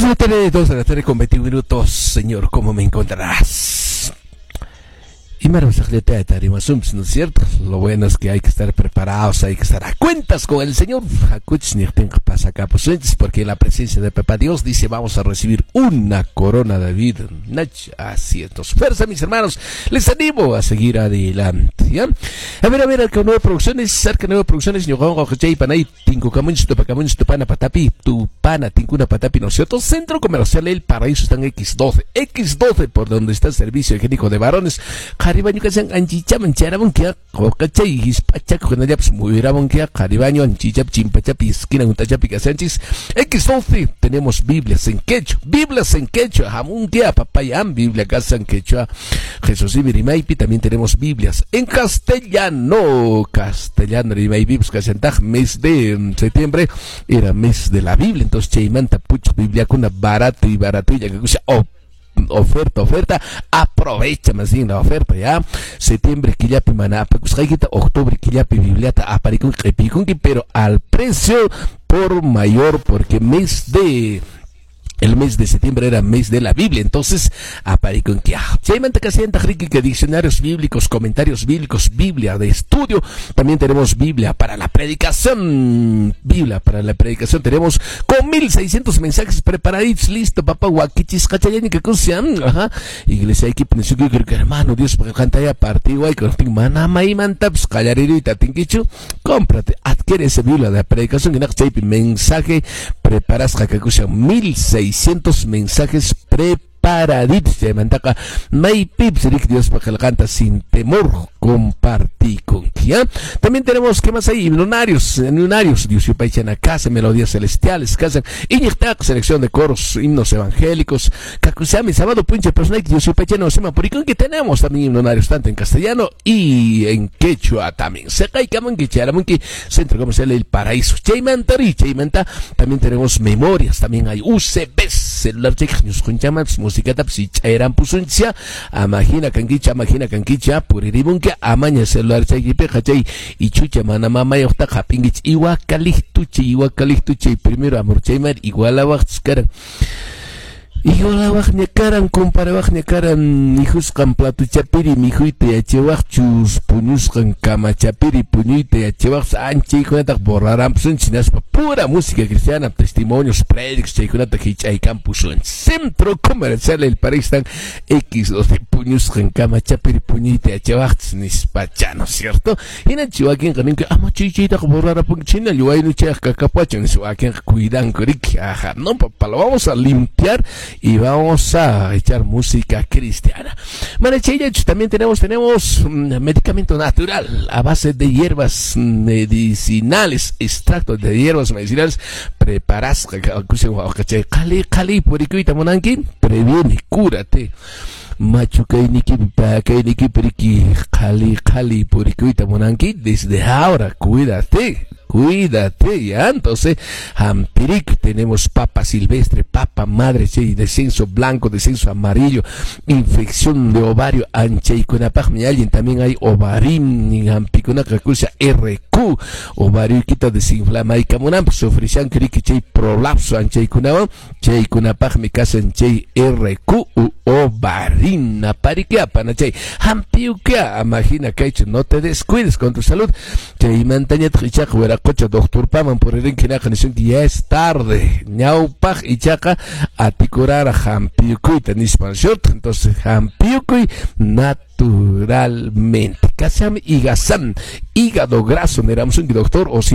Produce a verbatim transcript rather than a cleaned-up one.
de la tarde, dos de la tarde con veintiún minutos. Señor, ¿cómo me encontrarás? Y ¿no es cierto? Lo bueno es que hay que estar preparados, hay que estar a cuentas con el Señor. Porque en la presencia de Papá Dios dice, vamos a recibir una corona de vida. Así es. Fuerza, mis hermanos. Les animo a seguir adelante. ¿Ya? A ver, a ver, Arca Nueva Producciones, Arca Nueva Producciones, Tupana, Patapi, Tupana, Tincuna, Patapi, ¿no es cierto? Centro Comercial El Paraíso está en X doce. X doce, por donde está el servicio higiénico de varones. Qharibaño kasan anchichaman charamunkia qochay hispachak kunallapis muyramunkia qharibaño anchichap chimpachapi esquina untachapi kasanchis. X doce tenemos Biblias en quechua, Biblias en quechua, hamunkia papayam, Biblia kasan quechua, Jesús y Rimaypi. También tenemos Biblias en castellano, castellano rimaypi, pues kasantaj mes de septiembre era mes de la Biblia, entonces chaymanta puch Biblia kuna barato y barato y ya que oh, oferta, oferta, aprovecha más bien la oferta, ya. Septiembre, killapi mana apakusqaykita, octubre, killapi bibliata aparikunki q'ipikunki, pero al precio por mayor, porque mes de el mes de septiembre era mes de la Biblia, entonces aparikunki. Chaymanta kasianta riki que diccionarios bíblicos, comentarios bíblicos, Biblia de estudio. También tenemos Biblia para la predicación. Biblia para la predicación tenemos con mil seiscientos mensajes preparaditos, listo, papá, wakichis, kachayani, que kusian, ajá. Iglesia, hay que que hermano, Dios, porque canta ya partido, hay que mana maimantaps, callarito, tinkichu, cómprate, adquiere esa Biblia de la predicación, que chaypi mensaje preparas, jacacusia, mil seiscientos mensajes preparaditos. Chaymantaka maypips rik Dios canta sin temor compartí con ¿ya? También tenemos, ¿qué más hay? Himnonarios, himnonarios, Dios yupaychana casa, melodías celestiales, casa, iñiqtaq, selección de coros, himnos evangélicos, kakusami, sábado punche personal, Dios yupaychana osema purikun, que tenemos también himnonarios tanto en castellano y en quechua también. Seqay kamunki, charamunki, Centro Comercial El Paraíso. Chaymantari, chaymanta, también tenemos memorias, también hay U C Bs, celular check, ñusqunchamas, música tapsi, chayran pusuncha, amajina kankicha, amajina kankicha, puriribunkia, amaña celular chaykipiqa chay ichucha mana mamayuqtaqa hap'inkichik iwakalijtuchay, iwakalijtuchay, primero amor chaymar igualawaqchis karan. Igualawaqña karan, comparawaqña karan, mijusqan platuchapiri mijuyta yachawaqchus, puñusqan kamachapiri puñuyta yachawaqchus, anchaykunataq borrarampusunchis, hinaspa pura música cristiana, testimonios, prédicos, chaykunata hich'aykampusunchis. Centro Comercial El Paraíso están X doce puñusqan kamachapiri puñuyta yachawaqchus nispacha, ¿no es cierto? Hinanchi wakinqa ninki, ama chay chaytaqa borrarapunki, china waynuchayaq kakapuachan, nispa wakinqa cuidanku riki, ajá, no papá, lo vamos a limpiar y vamos a echar música cristiana. Bueno, también tenemos, tenemos medicamento natural a base de hierbas medicinales, extracto de hierbas medicinales, preparas, qali qali purikuyta munanki, previene, cúrate. Machu kayniki, pakayniki, periki, qali qali purikuyta munanki, desde ahora, cuídate. Cuídate, ya. Entonces, Jampirik, tenemos papa silvestre, papa madre, sí, descenso blanco, descenso amarillo, infección de ovario, anchaykunapaqmi alguien, también hay ovarim, jampikunaka kusa R Q, ovario quita desinflama y kamunamp, sufrishan kriki chay prolapso, anchaykunawan, chaykunapaqmi kasan chay R Q u ovarim, naparikia, panachay, jampiukia, amajina kaychu, no te descuides con tu salud, chaymantañataq ichaqa wera qocha doctor paman por el que ya es tarde, ñawpaq ichaqa atikurara hampiyukuyta nispan, ¿cierto? Entonces hampiyukuy naturalmente. Kasam higasam, hígado graso, neramos un doctor o si